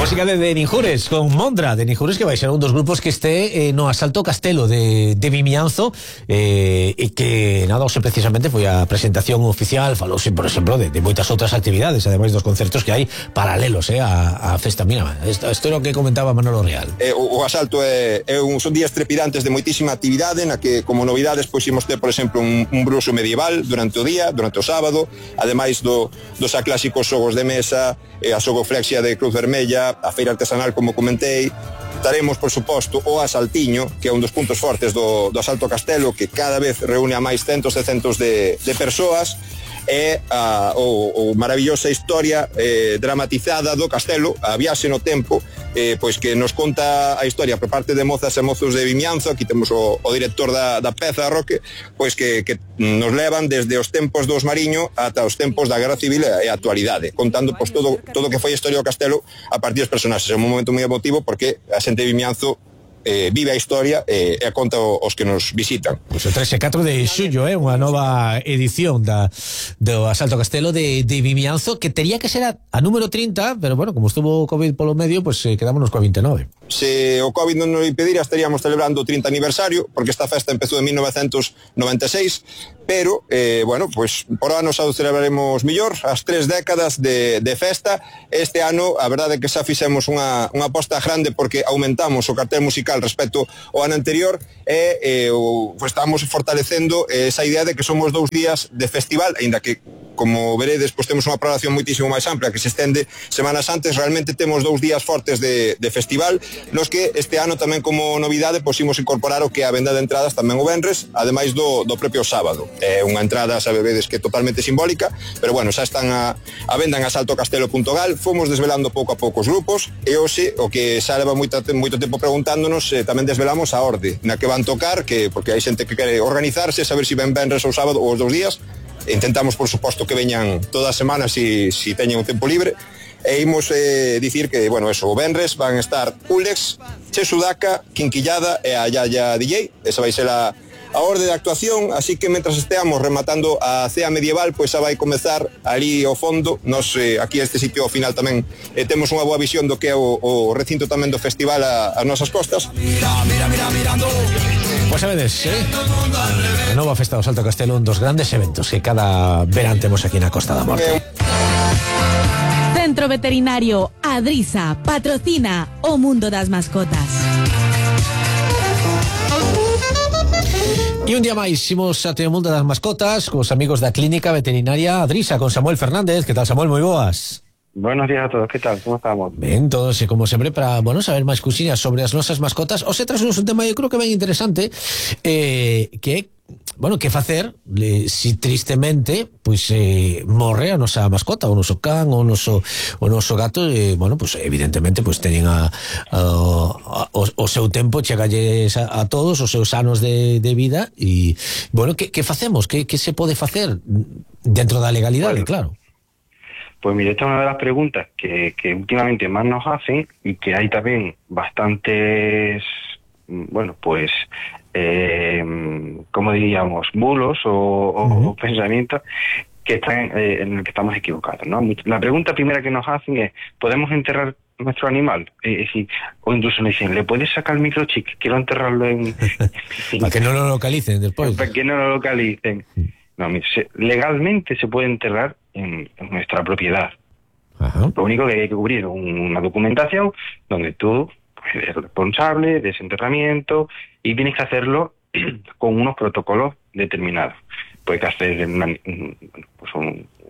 Música de Ninjures con Mondra, de Ninjures, que vai ser un dos grupos que este no Asalto Castelo de Vimianzo, e que nada, hoxe precisamente foi a presentación oficial. Falouse, por exemplo, de moitas outras actividades, ademais dos concertos que hai paralelos a festa. Mira, isto era o que comentaba Manolo Real. O Asalto son días trepidantes de moitísima actividade, na que como novidades pois imos ter, por exemplo, un bruxo medieval durante o día, durante o sábado, ademais dos aclásicos xogos de mesa, a xogoflexia de Cruz Vermella, a feira artesanal, como comentei. Taremos, por suposto, o Asaltiño, que é un dos puntos fortes do Asalto Castelo, que cada vez reúne a máis centos e centos de persoas. É o maravillosa historia dramatizada do Castelo, a viaxe no tempo, pois que nos conta a historia por parte de mozas e mozos de Vimianzo. Aquí temos o director da peza, Roque, pois que nos levan desde os tempos dos Mariño ata os tempos da Guerra Civil e a actualidade, contando pois todo o que foi a historia do Castelo a partir dos personaxes. É un momento moi emotivo porque a xente de Vimianzo vive a historia e a conta os que nos visitan. Pois o 3 e 4 de xullo, unha nova edición do Asalto Castelo de Vimianzo, que tería que ser a número 30, pero bueno, como estuvo o COVID polo medio, pues quedámonos coa 29. Se o COVID non nos impedira, estaríamos celebrando o 30 aniversario, porque esta festa empezou en 1996, pero, bueno, pues por ano xa o celebraremos millor, as 3 décadas de festa. Este ano, a verdade é que xa fixemos unha aposta grande, porque aumentamos o cartel musical respecto ao ano anterior, e estamos fortalecendo esa idea de que somos 2 días de festival, aínda que, como veredes, pues temos unha programación moitísimo máis ampla que se estende semanas antes. Realmente temos 2 días fortes de festival, nos que este ano tamén como novidade pues imos incorporar o que é a venda de entradas tamén o venres, ademais do propio sábado. É unha entrada, sabedes, que é totalmente simbólica, pero bueno, xa están a venda en asaltocastelo.gal. Fomos desvelando pouco a pouco os grupos, e hoxe, o que xa leva moito tempo preguntándonos, tamén desvelamos a orde na que van tocar, porque hai xente que quere organizarse, saber se ven venres ou sábado ou os 2 días. Intentamos, por suposto, que veñan toda a semana si teñen un tempo libre. E imos dicir que, bueno, eso, o venres van estar Ulex, Che Sudaca, Quinquillada e a Yaya DJ. Esa vai ser a orde de actuación, así que mentras esteamos rematando a cea medieval, pois xa vai comezar ali ao fondo. Nos aquí este sitio ao final tamén temos unha boa visión do que é o recinto tamén do festival as nosas costas. Mirando. Pois sabedes, a nova festa do Asalto Castelo, un dos grandes eventos que cada verán temos aquí na Costa da Morte. Centro Veterinario Adrisa patrocina o mundo das mascotas. E un día máis imos ate o mundo das mascotas cos amigos da Clínica Veterinaria Adrisa, con Samuel Fernández. Que tal, Samuel? Moi boas. Buenos días a todos, ¿qué tal? ¿Cómo estamos? Ben, todos, e como sempre, para, bueno, saber máis cousiñas sobre as nosas mascotas. Os traemos un tema, eu creo que ben interesante, que bueno, que facer si tristemente pois morre a nosa mascota, o noso can, o noso gato, bueno, pois evidentemente pois teñen o seu tempo, chegalles a todos os seus anos de vida, e bueno, que facemos? Que se pode facer dentro da legalidade, bueno, claro? Pues mire, esta es una de las preguntas que últimamente más nos hacen, y que hay también bastantes, bueno, pues como diríamos, bulos o pensamientos que están en el que estamos equivocados, ¿no? La pregunta primera que nos hacen es: ¿podemos enterrar nuestro animal? Es decir, o incluso nos dicen: ¿le puedes sacar el microchip? Quiero enterrarlo en... para que no lo localicen después. Para que no lo localicen. No, legalmente se puede enterrar en nuestra propiedad. Ajá. Lo único que hay que cubrir una documentación donde tú eres responsable de ese enterramiento, y tienes que hacerlo con unos protocolos determinados. Puedes hacer un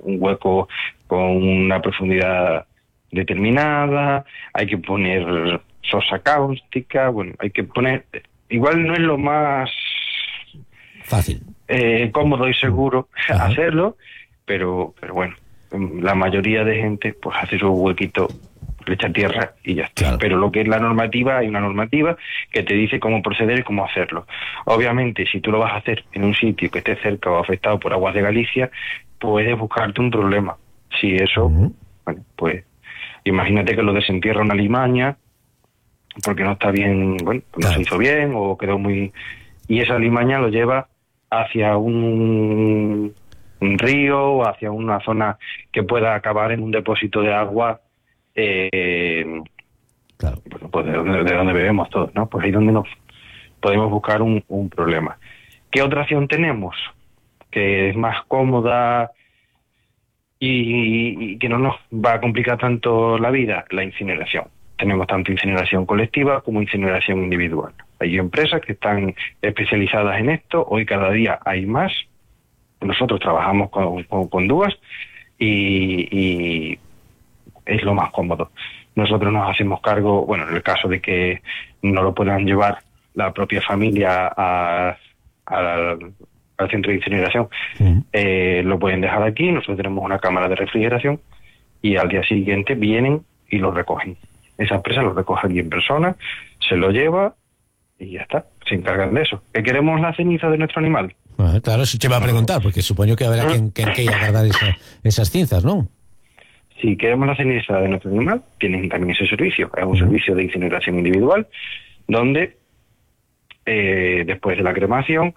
hueco con una profundidad determinada, hay que poner sosa cáustica, bueno, hay que poner... Igual no es lo más fácil, cómodo y seguro hacerlo, pero bueno, la mayoría de gente pues hace su huequito, le echa tierra y ya está. Claro. Pero lo que es la normativa, hay una normativa que te dice cómo proceder y cómo hacerlo. Obviamente, si tú lo vas a hacer en un sitio que esté cerca o afectado por aguas de Galicia, puedes buscarte un problema. Si eso, bueno, pues imagínate que lo desentierra una limaña porque no está bien, bueno, no se hizo bien o quedó muy... Y esa limaña lo lleva hacia un río o hacia una zona que pueda acabar en un depósito de agua pues de donde bebemos todos, ¿no? Pues ahí es donde nos podemos buscar un problema. ¿Qué otra opción tenemos? Que es más cómoda y que no nos va a complicar tanto la vida, la incineración. Tenemos tanto incineración colectiva como incineración individual. Hay empresas que están especializadas en esto, hoy cada día hay más. Nosotros trabajamos con DUAS y es lo más cómodo. Nosotros nos hacemos cargo, bueno, en el caso de que no lo puedan llevar la propia familia al centro de incineración, lo pueden dejar aquí, nosotros tenemos una cámara de refrigeración y al día siguiente vienen y lo recogen. Esa empresa lo recoge aquí en persona, se lo lleva y ya está, se encargan de eso. ¿Que queremos la ceniza de nuestro animal? Claro, eso te va a preguntar, porque supongo que habrá quien quiera guardar esas cinzas, ¿no? Si queremos la ceniza de nuestro animal, tienen también ese servicio. Es un servicio de incineración individual, donde después de la cremación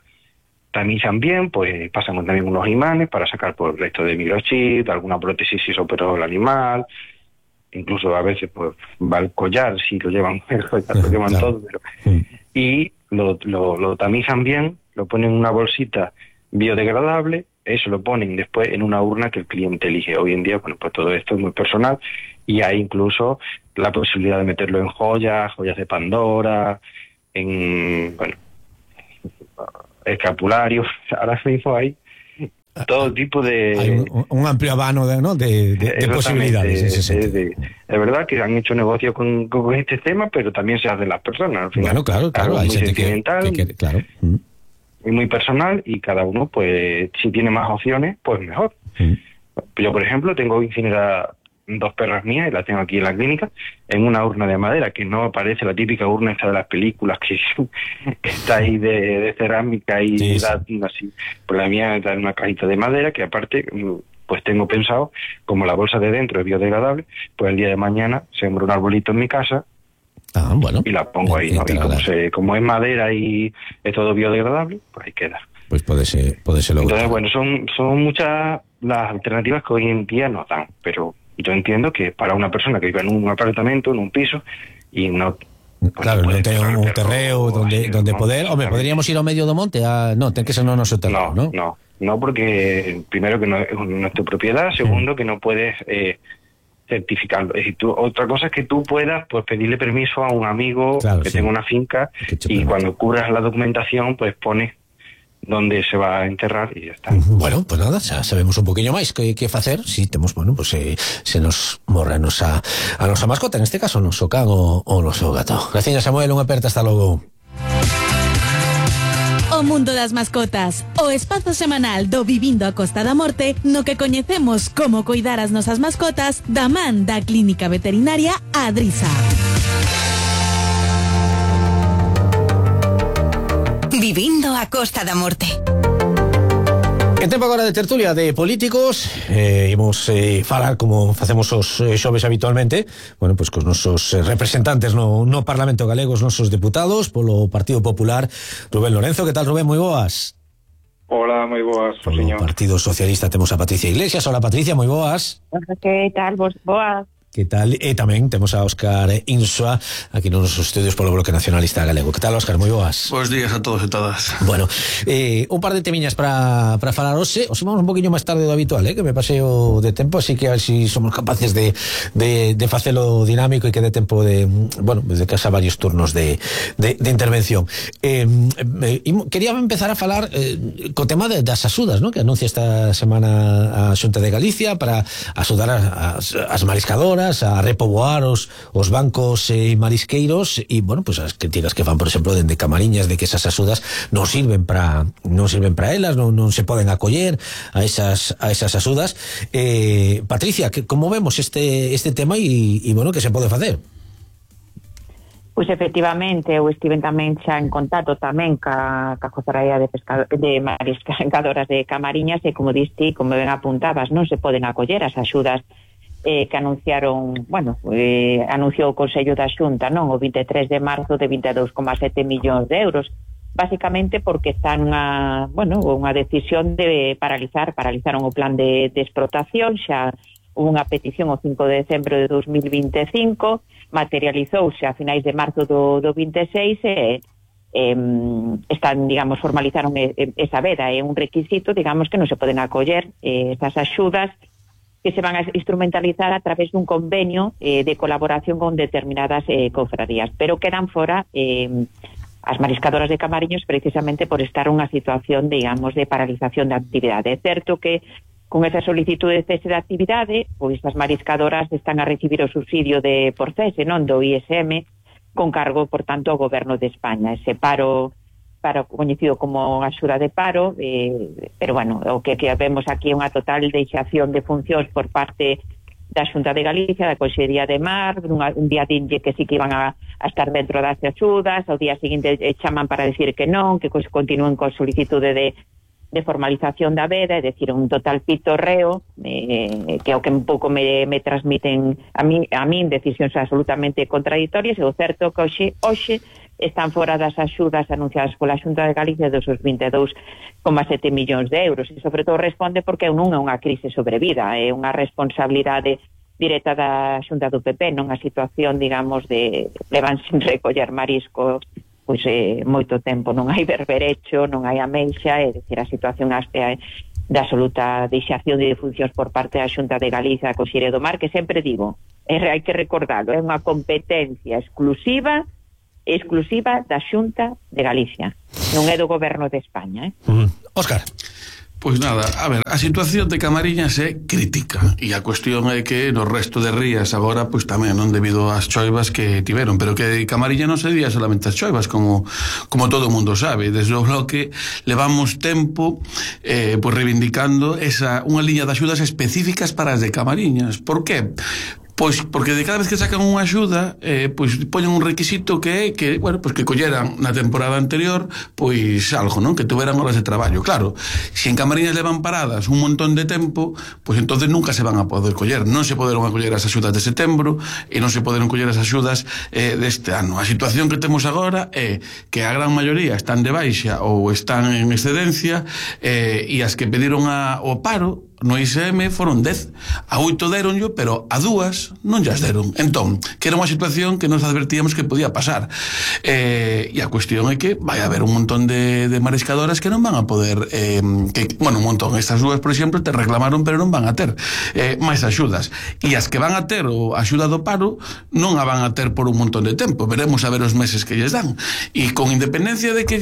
tamizan bien, pues pasan también unos imanes para sacar por el resto de microchip, alguna prótesis si se operó el animal, incluso a veces pues va el collar si lo llevan, lo llevan todo, pero y lo tamizan bien, lo ponen en una bolsita biodegradable, eso lo ponen después en una urna que el cliente elige. Hoy en día, bueno, pues todo esto es muy personal y hay incluso la posibilidad de meterlo en joyas de Pandora, en, bueno, escapularios. Ahora mismo hay todo tipo de... Hay un amplio abano de posibilidades. Es verdad que han hecho negocio con este tema, pero también se hacen las personas. Al final, bueno, claro, hay muy gente sentimental, claro. Y muy personal, y cada uno, pues, si tiene más opciones, pues mejor. Yo, por ejemplo, tengo incinerada 2 perras mías, y las tengo aquí en la clínica, en una urna de madera, que no parece la típica urna esta de las películas, que está ahí de cerámica y así. Pues la mía está en una cajita de madera, que aparte, pues tengo pensado, como la bolsa de dentro es biodegradable, pues el día de mañana sembro un arbolito en mi casa, bueno, y la pongo ahí, ¿no? Y como es madera y es todo biodegradable, pues ahí queda. Pues puede ser lograr. Entonces, bueno, son muchas las alternativas que hoy en día nos dan, pero yo entiendo que para una persona que vive en un apartamento, en un piso, y no... Claro, no tiene un terreo donde poder... Hombre, podríamos ir a medio do monte no, ten que ser no noso terreo, ¿no? No, porque primero que no es tu propiedad, segundo que no puedes certificarlo. Es decir, otra cosa es que tú puedas pues pedirle permiso a un amigo que tenga una finca y cuando cubras la documentación pues pones donde se va a enterrar y ya está. Bueno, pues nada, xa sabemos un poquinho máis que facer, si temos, bueno, pues se nos morra a nosa mascota, en este caso, o noso can ou o noso gato. Graciña, Samuel, unha aperta, hasta logo. O mundo das mascotas, o espazo semanal do Vivindo a Costa da Morte, no que coñecemos como coidar as nosas mascotas da man da Clínica Veterinaria Adrisa. Vivindo a Costa da Morte. En tempo agora de tertulia de políticos, imos falar como facemos os xoves habitualmente, bueno, pues cos nosos representantes no Parlamento galego, os nosos deputados polo Partido Popular. Rubén Lorenzo, que tal, Rubén? Moi boas. Hola, moi boas, Polo señor. Partido Socialista temos a Patricia Iglesias. Hola, Patricia, moi boas. Que tal, vos boas? Que tal? E tamén temos a Óscar Insua aquí nos nosos estudios polo Bloque Nacionalista Galego. Que tal, Óscar? Moi boas. Bos días a todos e todas. Bueno, un par de temiñas para falar hoxe. Os vamos un poquinho máis tarde do habitual, que me paseo de tempo, así que a ver si somos capaces de facelo dinámico e que dé tempo de, bueno, desde casa varios turnos de intervención. Quería empezar a falar co tema das axudas, que anuncia esta semana a Xunta de Galicia para axudar as mariscadoras a repoboar os bancos marisqueiros e, bueno, pues as críticas que fan, por exemplo, dende Camariñas de que esas axudas non sirven para elas, non se poden acoller a esas axudas. Patricia, como vemos este tema e bueno, que se pode facer? Pois efectivamente, eu estiven tamén xa en contacto tamén ca Cofradía de Mariscadoras de Camariñas e como diste, como ben apuntabas, non se poden acoller as axudas que anunciaron, anunciou o Consello da Xunta, non, o 23 de marzo de 22,7 millóns de euros, basicamente porque está unha decisión de paralizaron o plan de explotación, xa unha petición o 5 de decembro de 2025, materializouse a finais de marzo do 26 e están, digamos, formalizaron esa veda, é un requisito, digamos, que non se poden acoller esas axudas que se van a instrumentalizar a través dun convenio de colaboración con determinadas cofradías, pero quedan fora as mariscadoras de Camariñas precisamente por estar unha situación, digamos, de paralización da actividade. É certo que con esa solicitud de cese de actividade, pois as mariscadoras están a recibir o subsidio por cese, non, do ISM, con cargo, por tanto, ao Goberno de España. Ese paro coñecido como axuda de paro, pero, bueno, o que vemos aquí é unha total deixación de funcións por parte da Xunta de Galicia, da Consellería de Mar, un día dinlle que sí que iban a estar dentro das axudas, ao día seguinte chaman para decir que non, que continúen con solicitude de formalización da veda, é dicir, un total pitorreo, que é o que un pouco me transmiten a min decisións absolutamente contradictorias, e o certo que hoxe están fora das axudas anunciadas pola Xunta de Galicia dos 22,7 millóns de euros, e sobre todo responde porque non é unha crise sobrevida, é unha responsabilidade directa da Xunta do PP, non a situación, digamos, de levan sin recoller marisco pois moito tempo, non hai berberecho, non hai ameixa, é dicir, a situación da absoluta deixación de funcións por parte da Xunta de Galicia, a Consellería do Mar, que sempre digo, hai que recordarlo, é unha competencia exclusiva da Xunta de Galicia, non é do Goberno de España. Óscar. Pois nada, a ver, a situación de Camariñas é crítica e a cuestión é que no resto de rías agora, pois tamén, non, debido ás choivas que tiveron, pero que Camariña non se día solamente as choivas, como todo o mundo sabe. Desde o bloque levamos tempo pois reivindicando unha liña de axudas específicas para as de Camariñas. Por qué? Pois porque de cada vez que sacan unha axuda pois poñen un requisito que é que, bueno, pois que colleran na temporada anterior pois algo, non? Que tuveran horas de traballo. Claro, se en Camariñas levan paradas un montón de tempo, pois entonces nunca se van a poder coller. Non se poderon acoller as axudas de setembro e non se poderon coller as axudas deste ano. A situación que temos agora é que a gran maioría están de baixa ou están en excedencia e as que pediron o paro no ISM foron 10, a 8 deronllo, pero a 2 non llas deron. Entón, que era unha situación que nos advertíamos que podía pasar, e a cuestión é que vai haber un montón de mariscadoras que non van a poder un montón, estas 2, por exemplo, te reclamaron pero non van a ter máis axudas, e as que van a ter a axuda do paro non a van a ter por un montón de tempo. Veremos a ver os meses que lles dan, e con independencia de que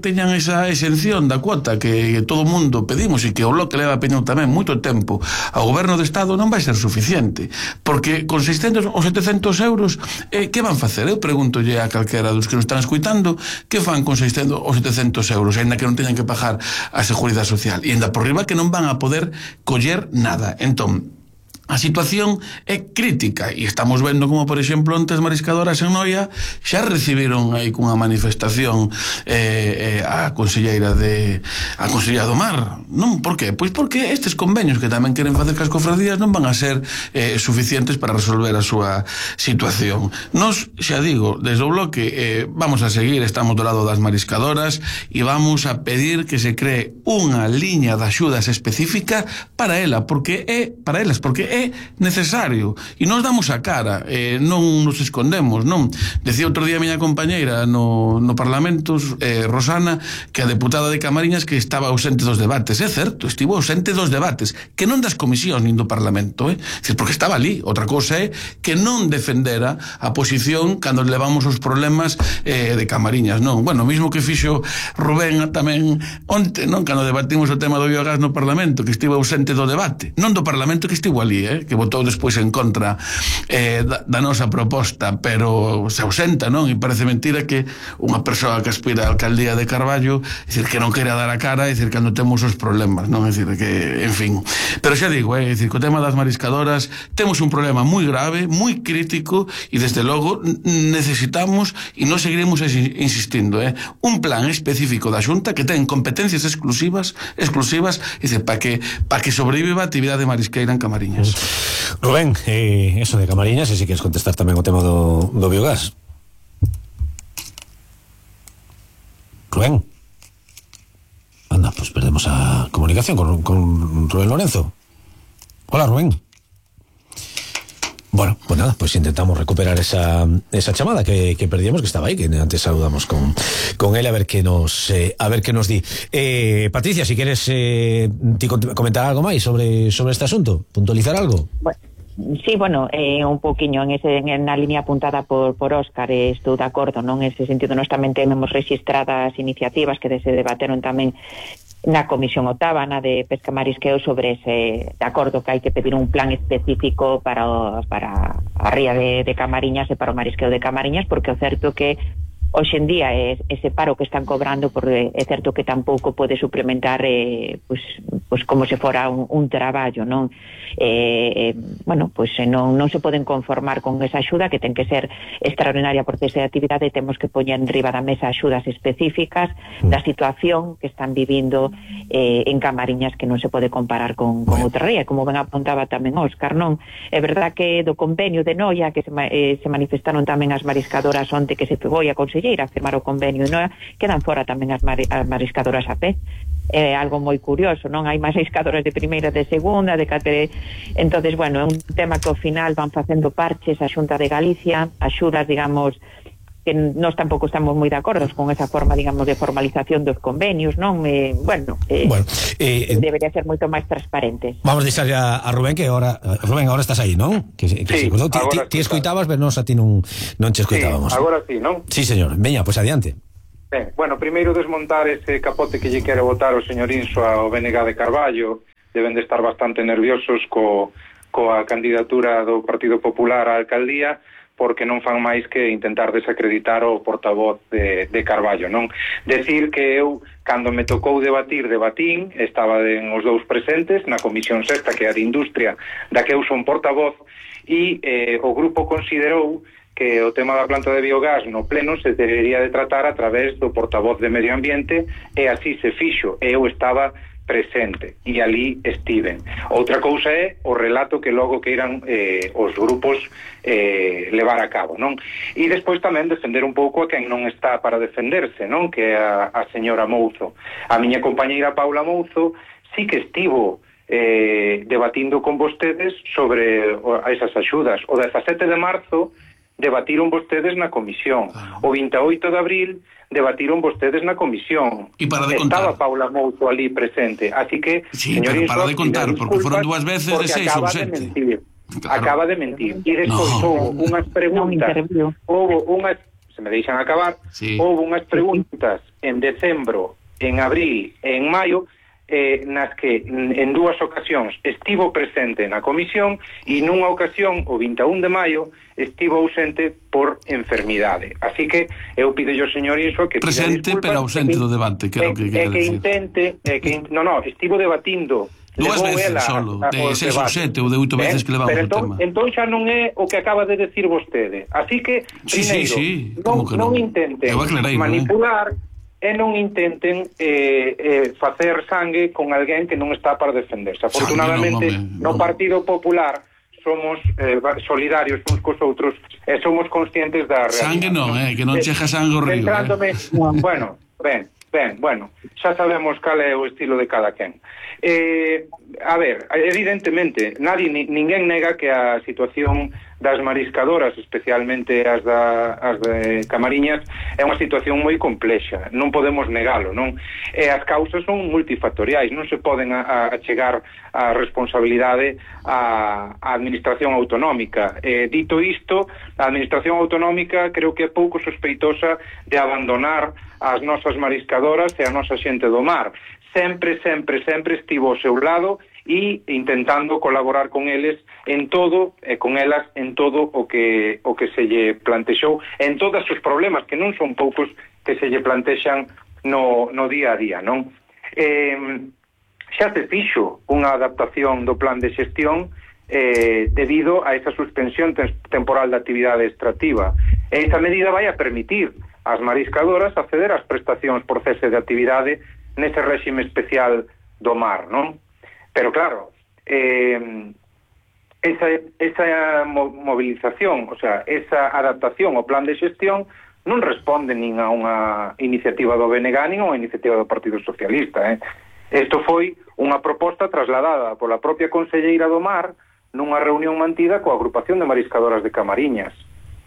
teñan esa exención da cuota que todo o mundo pedimos e que o bloque leva peñado tamén moito tempo ao Goberno do Estado, non vai ser suficiente, porque con 600 ou 700 euros que van facer? Eu pregúntolle a calquera dos que nos están escuitando, que fan con 600 ou 700 euros, ainda que non teñan que pagar a Seguridade Social, e ainda por riba que non van a poder coller nada. Entón, a situación é crítica e estamos vendo como, por exemplo, ontes mariscadoras en Noia xa recibiron aí cunha manifestación a Conselleira do Mar, non? Por qué? Pois porque estes convenios que tamén queren facer cas cofradías non van a ser suficientes para resolver a súa situación. Nos, xa digo, desde o bloque vamos a seguir, estamos do lado das mariscadoras e vamos a pedir que se cree unha liña de axudas específica para elas, porque é necesario, e nos damos a cara, non nos escondemos, non? Decía outro día a miña compañeira no Parlamento, Rosana, que a deputada de Camariñas que estaba ausente dos debates. É certo, estivo ausente dos debates, que non das comisións nin do Parlamento, porque estaba ali. Outra cousa é que non defendera a posición cando levamos os problemas de Camariñas, non? Bueno, mismo que fixo Rubén tamén onte, non? Cando debatimos o tema do biogás no Parlamento, que estivo ausente do debate, non do Parlamento, que estivo ali, que votou despois en contra da nosa proposta, pero se ausenta, non? E parece mentira que unha persoa que aspira a alcaldía de Carballo, decir, que non quere dar a cara, decir, cando temos os problemas, non? Decir, que, en fin. Pero xa digo, decir, co tema das mariscadoras temos un problema moi grave, moi crítico, e desde logo necesitamos, e non seguiremos insistindo, un plan específico da Xunta que ten competencias exclusivas, decir, para que sobreviva a actividade marisqueira en Camariñas. Rubén, eso de Camariñas, e se queres contestar tamén o tema do biogás. Rubén. Anda, pues perdemos a comunicación con Rubén Lorenzo. Hola, Rubén. Bueno, pues nada, pues intentamos recuperar esa chamada que perdíamos, que estaba ahí, que antes saludamos con él, a ver qué nos di. Patricia, si quieres comentar algo máis sobre este asunto, puntualizar algo. Bueno, sí, bueno, un poquinho en la línea apuntada por Óscar, estou de acordo, non? En ese sentido, nós tamén temos registradas iniciativas que se debateron tamén na Comisión Octava, na de Pesca Marisqueo, sobre ese, de acordo que hai que pedir un plan específico para a ría de Camariñas e para o marisqueo de Camariñas, porque o certo que hoxe en día ese paro que están cobrando, porque é certo que tampouco pode suplementar pues como se fora un traballo, non? Bueno, pues non se poden conformar con esa axuda, que ten que ser extraordinaria por cese de actividade, e temos que poñer en riba da mesa axudas específicas da situación que están vivindo en Camariñas, que non se pode comparar con outra ría, como ben apuntaba tamén Óscar, non? É verdad que do convenio de Noia, que se manifestaron tamén as mariscadoras onte, que se pegou a conselleira a firmar o convenio de Noia, quedan fora tamén as mariscadoras a pé. É algo moi curioso, non? Hai mariscadoras de primeira, de segunda, de catere... Entonces, bueno, é un tema que ao final van facendo parches a Xunta de Galicia, axudas, digamos, que nós tampouco estamos moi de acordo con esa forma, digamos, de formalización dos convenios, non? Debería ser moito máis transparente. Vamos a deixar a Rubén, que ahora estás aí, non? Sí, ti escoitabas, pero nos a ti non che escoitábamos. Sí, agora sí, non? Sí, señor. Veña, pois adiante. Ben, bueno, primeiro desmontar ese capote que lle quere botar o señor Inso ao BNG de Carballo. Deben de estar bastante nerviosos coa candidatura do Partido Popular á alcaldía, porque non fan máis que intentar desacreditar o portavoz de Carballo, non? Decir que eu, cando me tocou debatín, estaba os dous presentes na Comisión Sexta, que é a de Industria, da que eu son portavoz, e o grupo considerou que o tema da planta de biogás no pleno se debería de tratar a través do portavoz de Medio Ambiente, e así se fixo, e eu estaba presente, e ali estiven. Outra cousa é o relato que logo queiran os grupos levar a cabo, non? E despois tamén defender un pouco a quen non está para defenderse, non? Que é a señora Mouzo. A miña compañeira Paula Mouzo sí que estivo debatindo con vostedes sobre esas axudas. O 17 de marzo debatiron vostedes na comisión. O 28 de abril debatiron vostedes na comisión. E para de contar. Estaba Paula Mouzo ali presente. Así que, sí, pero para de contar, porque foron dúas veces de 6 ou 7. Acaba de mentir. E despois houve unhas preguntas. Se me deixan acabar. Sí. Houve unhas preguntas en decembro, en abril e en maio, nas que en dúas ocasións estivo presente na comisión, e nunha ocasión, o 21 de maio, estivo ausente por enfermidade. Así que eu pido ao señor Inso que presente pero ausente do debate, que é o que quere decir. Estivo debatindo dúas veces solo, de 6 ou 7 ou de 8 veces que levamos o tema. Entón xa non é o que acaba de decir vostede. Así que, primeiro, non intenten manipular e non intenten facer sangue con alguén que non está para defenderse. Afortunadamente, no Partido Popular somos solidarios uns cos outros e somos conscientes da realidade. Sangue non, que non chega sangue ao río. Bueno, xa sabemos cal é o estilo de cada quen. A ver, evidentemente, ninguén nega que a situación das mariscadoras, especialmente as de Camariñas, é unha situación moi complexa, non podemos negalo, non? E as causas son multifactoriais, non se poden achegar a responsabilidade á administración autonómica. Dito isto, a administración autonómica creo que é pouco sospeitosa de abandonar as nosas mariscadoras e a nosa xente do mar. Sempre estivo ao seu lado e intentando colaborar con eles en todo, e con elas en todo o que se lle plantexou, en todos os problemas, que non son poucos, que se lle plantexan no día a día, non? Xa se fixo unha adaptación do plan de xestión debido a esa suspensión temporal da actividade extractiva. E esa medida vai a permitir ás mariscadoras acceder ás prestacións por cese de actividade nese réxime especial do mar, non? Pero claro, esa movilización, o sea, esa adaptación ao plan de xestión non responde nin a unha iniciativa do BNG nin a unha iniciativa do Partido Socialista. Isto foi unha proposta trasladada pola propia conselleira do Mar nunha reunión mantida coa agrupación de mariscadoras de Camariñas.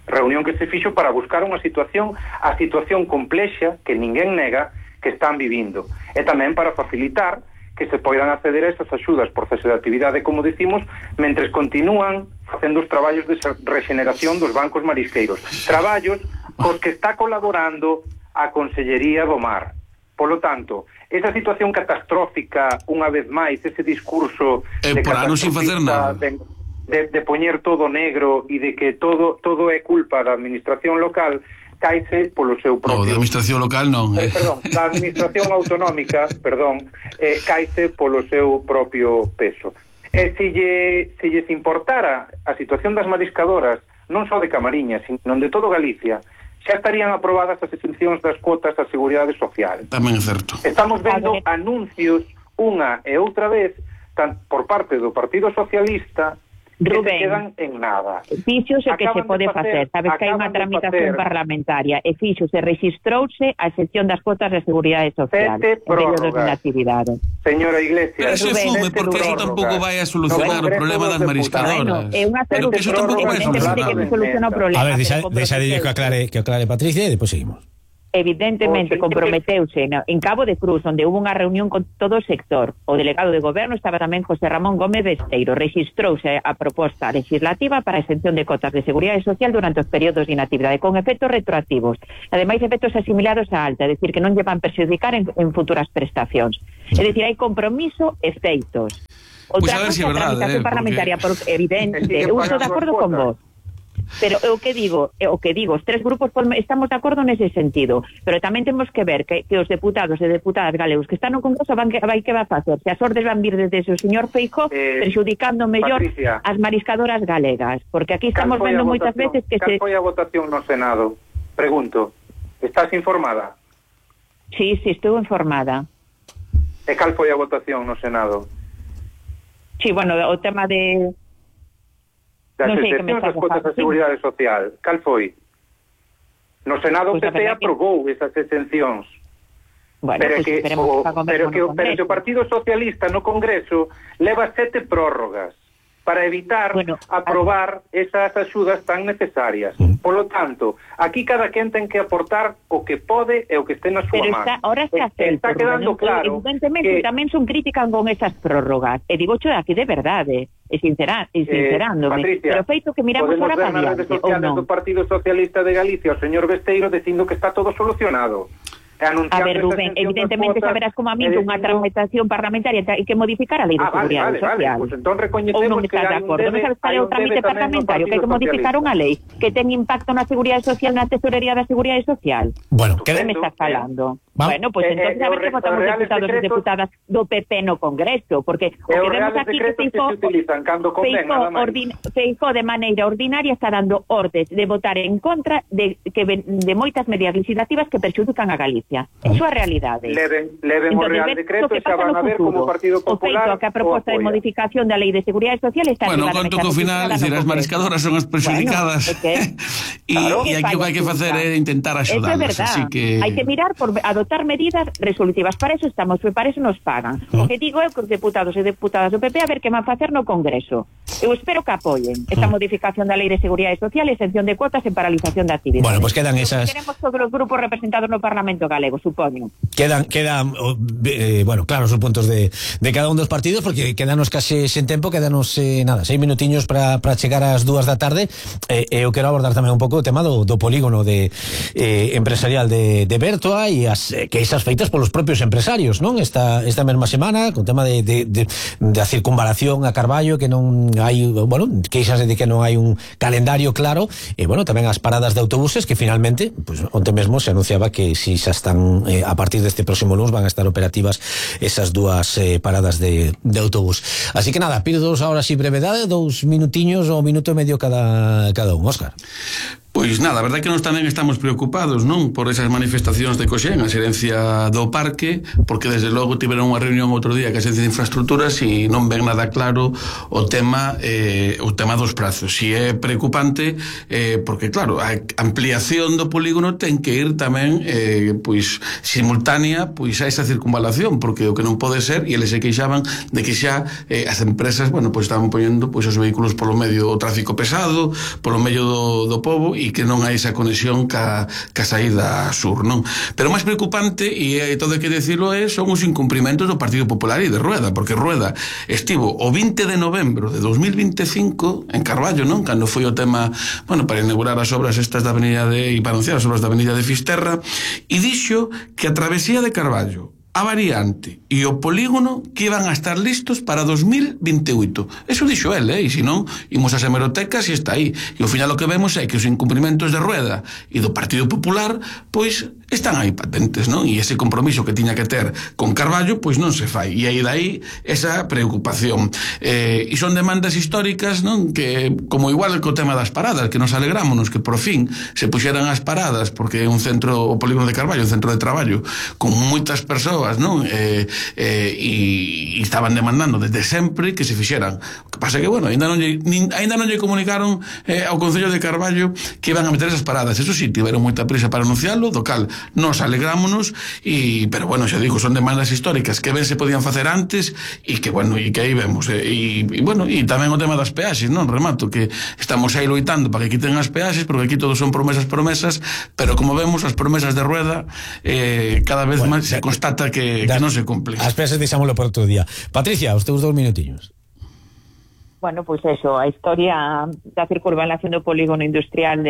Reunión que se fixo para buscar a situación complexa que ninguén nega que están vivindo, e tamén para facilitar que se poidan acceder a esas axudas por cese de actividade, como decimos, mentres continúan facendo os traballos de regeneración dos bancos marisqueiros, traballos cos que está colaborando a Consellería do Mar. Polo tanto, esa situación catastrófica, unha vez máis, ese discurso de catastrofista, de poñer todo negro e de que todo é culpa da administración local, caise polo seu propio... da administración local non. Perdón, da administración autonómica, caise polo seu propio peso. E se lles importara a situación das mariscadoras, non só de Camariñas, sino de todo Galicia, xa estarían aprobadas as exencións das cuotas da Seguridade Social. Tamén é certo. Estamos vendo anuncios unha e outra vez por parte do Partido Socialista que se quedan en nada. Fíxose que se pode facer, sabes que hai unha tramitación parlamentaria e fíxose, registrouse a excepción das cuotas de Seguridade Social en períodos de actividade. Señora Iglesias, pero se asume, porque eso tampouco vai a solucionar o problema das mariscadoras. Pero que eso tampouco vai a solucionar o problema. A ver, deixa de que aclare Patricia e depois seguimos. Evidentemente comprometeuse en Cabo de Cruz, onde hubo unha reunión con todo o sector. O delegado de goberno estaba tamén José Ramón Gómez Besteiro. Registrouse a proposta legislativa para a exención de cotas de Seguridade Social durante os períodos de inactividade, con efectos retroactivos. Ademais, efectos asimilados á alta, é dicir, que non lle van perxudicar en futuras prestacións. É dicir, hai compromiso e feitos. Outra cosa, a tramitación parlamentaria, porque evidente, eu estou de acordo con vos. Pero o que digo, os tres grupos estamos de acordo nese sentido, pero tamén temos que ver que os deputados e deputadas galegos que están no Congreso que vai facer, se as ordes van vir desde o señor Feijóo perxudicando mellor as mariscadoras galegas, porque aquí estamos vendo moitas veces que Cal foi a votación no Senado? Pregunto, estás informada? Sí, estou informada. E cal foi a votación no Senado? Sí, bueno, o tema de... Das excepcións das cuotas da Seguridade Social, cal foi? No Senado o PP aprobou esas exencións. Bueno, pero que o Partido Socialista no Congreso leva 7 prórrogas para evitar aprobar esas axudas tan necesarias. Polo tanto, aquí cada quen ten que aportar o que pode e o que este na súa man. Ahora está quedando claro evidentemente que tamén son críticas con esas prórrogas. E digo xo aquí de verdade, e sincerándome. Patricia, pero feito que miramos ahora para adiante, ou non. Do Partido Socialista de Galicia, o señor Besteiro dicindo que está todo solucionado. A ver, Rubén, evidentemente saberás como a mí unha tramitación parlamentaria hai que modificar a Lei de Seguridade Social. Pues entón recoñecemos que hai un debe, non sabes cal é o trámite parlamentario, que hai que modificar unha lei que ten impacto na Seguridade Social, na Tesorería da Seguridade Social. Bueno, que me estás falando? Bueno, pues entonces a ver que votamos deputados e deputadas do PP no Congreso, porque o que vemos aquí que Feijóo de maneira ordinaria está dando ordes de votar en contra de moitas medidas legislativas que perxudican a Galicia. Eso é a realidade. Leven o Real Decreto e xa van a ver como o Partido Popular... O feito que a proposta de modificación da Lei de Seguridade Social está... Bueno, conto que ao final, as mariscadoras son as perxudicadas e aquí o que hai que facer é intentar axudarlas. Eso é verdad. Hai que mirar por adoptar medidas resolutivas. Para eso estamos, para eso nos pagan. O que digo é que os deputados e deputadas do PP a ver que van facer no Congreso. Eu espero que apoien esta modificación da Lei de Seguridade Social, exención de cuotas e paralización de actividades. Bueno, pues quedan esas... Queremos todos os grupos representados no Parlamento galego, supoño. Quedan bueno, claros os puntos de cada un dos partidos, porque quedanos case sen tempo, quedanos 6 minutiños para chegar ás 2 da tarde. Eu quero abordar tamén un pouco o tema do polígono empresarial de Bertoa e as queixas feitas polos propios empresarios, non? Esta mesma semana, con tema de a circunvalación a Carballo, que non hai, bueno, queixas de que non hai un calendario claro, e bueno, tamén as paradas de autobuses que finalmente, pues onte mesmo se anunciaba que si xa están a partir deste próximo lunes van a estar operativas esas dúas paradas de autobús. Así que nada, pido ahora si brevedade, 2 minutiños ou minuto e medio cada un, Óscar. Pois nada, a verdade é que nós tamén estamos preocupados, non, por esas manifestacións de Coxén, a xerencia do parque, porque desde logo tiveron unha reunión outro día que a xerencia de infraestructuras e non ven nada claro o tema dos prazos. E é preocupante porque claro, a ampliación do polígono ten que ir tamén pois simultánea pois a esa circunvalación, porque o que non pode ser, e eles se queixaban de que xa as empresas, bueno, pois estaban poñendo pois os vehículos polo medio do tráfico pesado, polo medio do pobo, e que non hai esa conexión ca saída sur, non? Pero máis preocupante, e todo hai que decirlo, son os incumprimentos do Partido Popular e de Rueda, porque Rueda estivo o 20 de novembro de 2025 en Carballo, non? Cando foi o tema, bueno, para inaugurar as obras estas da avenida e para anunciar as obras da avenida de Fisterra, e dixo que a travesía de Carballo, a variante e o polígono que iban a estar listos para 2028. Eso dixo el, e se non, imos ás hemerotecas e está aí. E ao final o que vemos é que os incumprimentos de Rueda e do Partido Popular, pois, están aí patentes, non? E ese compromiso que tiña que ter con Carballo, pois non se fai. E aí dai esa preocupación. E son demandas históricas, non? Que, como igual co tema das paradas, que nos alegrámonos que por fin se puxeran as paradas, porque é un centro, o polígono de Carballo, un centro de traballo, con moitas persoas, non? E estaban demandando desde sempre que se fixeran. O que pasa é que, bueno, ainda non lle comunicaron ao Concello de Carballo que iban a meter esas paradas. Eso sí, tiveron moita prisa para anunciarlo, do cal nos alegrámonos, pero bueno, xa digo, son demandas históricas que ben se podían facer antes e que, bueno, e que aí vemos. E bueno, e tamén o tema das peaxes, non? Remato, que estamos aí loitando para que quiten as peaxes, porque aquí todos son promesas, pero como vemos, as promesas de Rueda cada vez máis se constata que non se cumple. As peaxes deixámoslo por outro día. Patricia, os teus 2 minutiños. Bueno, pois eso, a historia da circunvalación do polígono industrial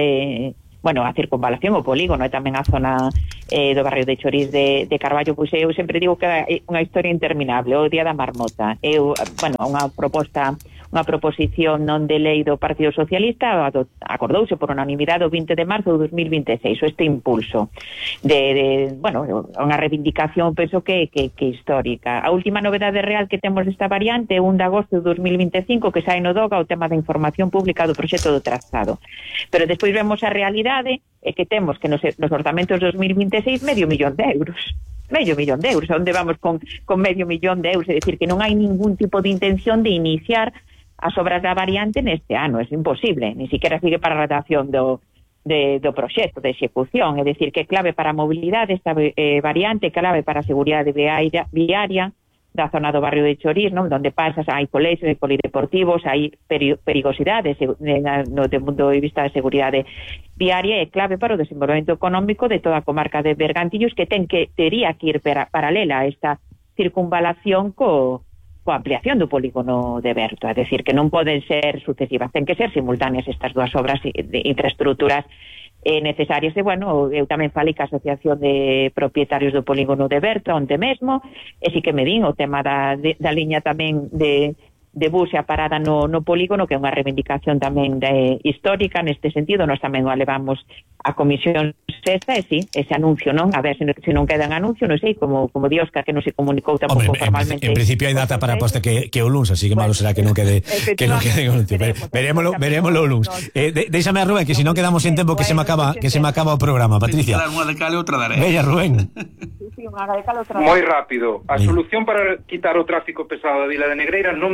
a circunvalación, o polígono e tamén a zona do barrio de Chorís de Carballo, pois eu sempre digo que é unha historia interminable, o día da marmota. Unha proposición non de lei do Partido Socialista acordouse por unanimidade o 20 de marzo de 2026, este impulso unha reivindicación, penso que histórica. A última novedade real que temos desta variante é 1 de agosto de 2025 que sai no DOGA o tema da información pública do proxecto do trazado, pero despois vemos a realidade é que temos que nos orzamentos de 2026 medio millón de euros, onde vamos con medio millón de euros, é dicir, que non hai ningún tipo de intención de iniciar as obras da variante neste ano, é imposible, ni siquiera sigue para a redacción do proxecto de execución, é dicir, que é clave para a mobilidade esta variante, clave para a seguridade viaria da zona do barrio de Chorís, non? Donde pasas, hai colexios, hai polideportivos, hai perigosidades no punto de vista de seguridade viaria, é clave para o desenvolvemento económico de toda a comarca de Bergantiños, que tería que ir paralela a esta circunvalación coa ampliación do polígono de Berto, é dicir, que non poden ser sucesivas, ten que ser simultáneas estas dúas obras de infraestructuras necesarias. E, bueno, eu tamén falei ca Asociación de Propietarios do Polígono de Berto onte mesmo, e si que me din o tema da liña tamén de bus e a parada no polígono, que é unha reivindicación tamén histórica neste sentido. Nós tamén o levamos a Comisión Sexta, e sí, ese anuncio, non? A ver se non queda en anuncio, non sei, como di Óscar, que non se comunicou tampouco formalmente. En principio hai data para poste que o luns, así que malo será que non quede en anuncio. Verémoslo o luns. Déixame a Rubén, que se non quedamos en tempo que se me acaba o programa. Patricia. Unha de cal e outra de arena. Veña, Rubén. Moi rápido. A solución para quitar o tráfico pesado da Vila de Negreira do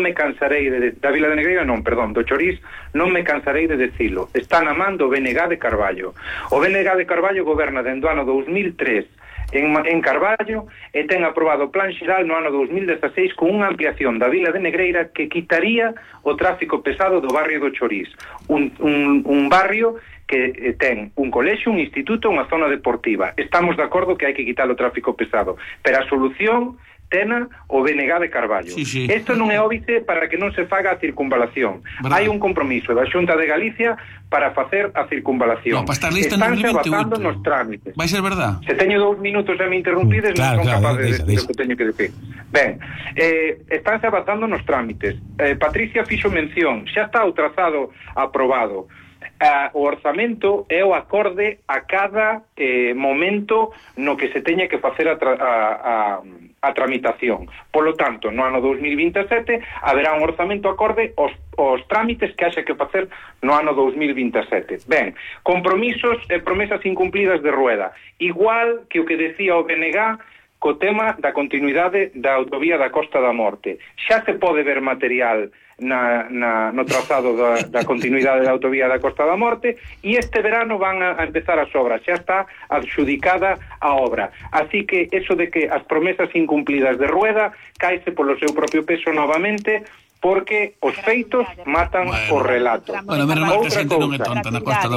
Chorís, non me cansarei de decilo. Está na man do BNG de Carballo. O BNG de Carballo goberna dende o ano 2003 en Carballo e ten aprobado o plan xeral no ano 2016 con unha ampliación da Vila de Negreira que quitaría o tráfico pesado do barrio do Chorís, un barrio que ten un colexio, un instituto, unha zona deportiva. Estamos de acordo que hai que quitar o tráfico pesado, pero a solución tena o BNG de Carballo. Sí. Isto non é óbice para que non se faga a circunvalación. Hai un compromiso da Xunta de Galicia para facer a circunvalación. No, para estar lista estánse avanzando nos trámites. Vai ser verdad? Se teño 2 minutos e me interrumpides, non son capaz de decir o que teño que decir. Ben, estánse avanzando nos trámites. Patricia fixo mención, xa está o trazado aprobado. O orzamento é o acorde a cada momento no que se teña que facer a tramitación. Polo tanto, no ano 2027 haberá un orzamento acorde aos trámites que haxe que facer no ano 2027. Ben, compromisos e promesas incumplidas de Rueda, igual que o que decía o BNG co tema da continuidade da autovía da Costa da Morte. Xa se pode ver material no trazado da continuidade da autovía da Costa da Morte e este verano van a empezar as obras, xa está adxudicada a obra. Así que eso de que as promesas incumplidas de Rueda caese polo seu propio peso novamente, porque os feitos matan o relato. Bueno, outra cousa,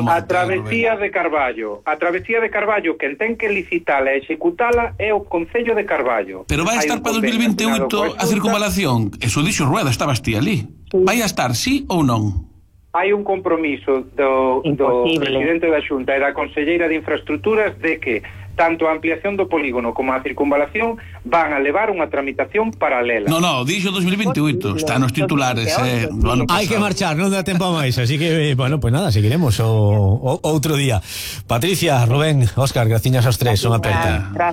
a travesía de Carballo. A travesía de Carballo, quen ten que licitala e executala é o Concello de Carballo. Pero vai estar para 2028 a circunvalación. Eso dixo Rueda, estabas ti ali. Vai a estar, sí ou non? Hai un compromiso do presidente da Xunta e da conselleira de Infraestructuras de que tanto a ampliación do polígono como a circunvalación van a levar unha tramitación paralela. No, dixo 2028, está nos titulares, hai que marchar, non dá tempo a máis, así que, bueno, pues nada, seguiremos outro día. Patricia, Rubén, Óscar, graciñas aos tres, son aperta.